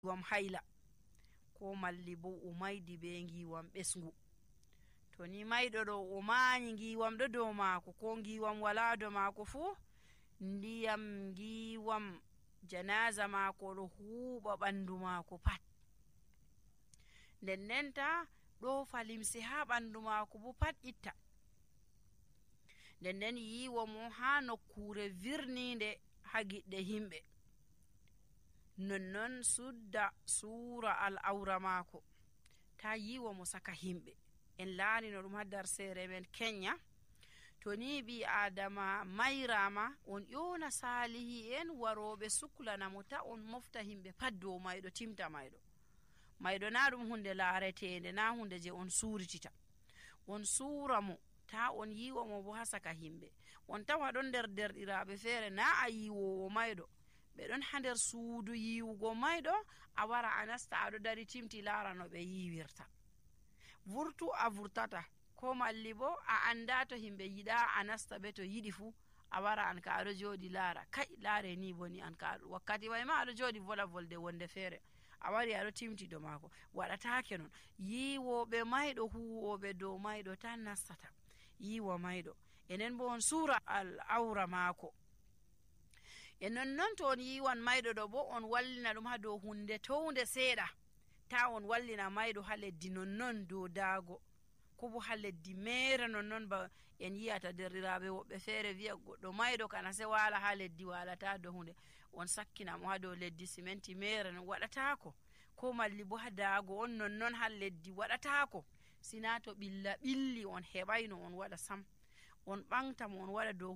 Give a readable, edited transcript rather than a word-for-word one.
giwam hayla ko malli bo o maydi be giwam ɓesngu. to ni mayɗo ɗo o maanyi giwam ɗo dow maako ko giwam wala dow maako fuu, ndiyam giwam janaza maako ɗo huuɓa ɓandu maako pat. nden ta ɗo falimse ha ɓandu maako bo pat itta. nden yiwo mo ha nokkure virninde ha giɗɗe himɓe. nonnon sudda suura al'aura maako ta yiwo mo saka himɓe. en laarino ɗum ha darsere men kenya. to ni ɓi adama mayrama on ƴona salihi en waroɓe suklanamo ta on mofta himɓe pat dow mayɗo timta mayɗo na ɗum hunde laaretende, na hunde je on suritita. on suura mo ta on yiwo mo bo ha saka himɓe. on tawa ɗon nder derɗiraɓe feere na a yiwowo mayɗo, ɓe ɗon ha nder suudu yiwugo mayɗo, a wara a nasta aɗo dari timti laara no ɓe yiwirta. vurtu a vurtata, ko malli bo a anda to himɓe yiɗa a nasta ɓe, to yiɗi fu a wara an ka aɗo joɗi laara, kai laare ni boni an ka wakkati way ma aɗo joɗi vola volde wonde feere a wari aɗo timti do maako. waɗatake non. yiwoɓe mayɗo huwoɓe dow mayɗo tan nastata yiwa mayɗo. enen bo on suura al'aura maako. e nonnon to on yiwan mayɗo ɗo bo on wallina ɗum ha dow hunde townde seeɗa. ta on wallina mayɗo ha leddi nonnon dow daago, ko bo ha leddi mere nonnon ba en yiyata derɗiraɓe woɓɓe feere wi'a goɗɗo mayɗo kana se wala ha leddi walata dow hunde, on sakkina mo ha dow leddi siminti mere non, waɗatako. ko malli bo ha daago on nonnon ha leddi, waɗatako. sina to ɓilla ɓilli on heɓayno on waɗa sam, on ɓamta mo on waɗa dow